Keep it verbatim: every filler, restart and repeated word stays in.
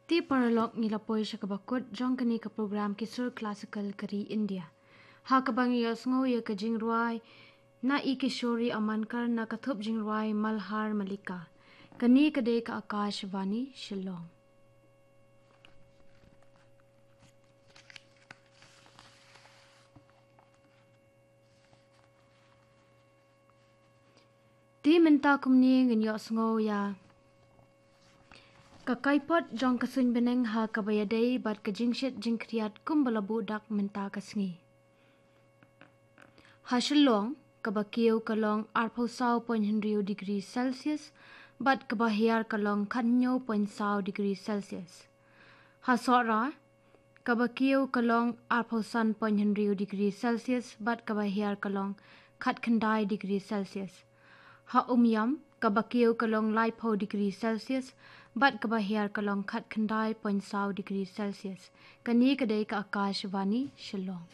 Te paralok, ngi la poi sha kaba kut jong kane ka program ki sur classical ka ri India, ha kaba ngi ïohsngew ïa ka jingrwai na i Kishori Amankar na ka thup jingrwai Malhar Mallika. Kane ka dei ka Akashvani Shillong. Te mynta kumne ngin ïohsngew ïa ka kaipot jong ka suiñ bneng ha kaba ïadei bad ka jingshit jingkhriat kumba la buh dak mynta ka sngi. Ha Shillong, kaba kiew ka long arphew saw point hynriew degree Celsius, bad kaba hiar ka long khathynñiew point saw degree Celsius. Ha Sohra, kaba kiew ka long arphew san point hynriew degree Celsius, bad kaba hiar ka long khatkhyndai degree Celsius. Ha Umiam, kaba kiew ka long laiphew degree Celsius, bad kaba hiar ka long khatkhyndai point saw degree Celsius. Kane ka dei ka Akashvani Shillong.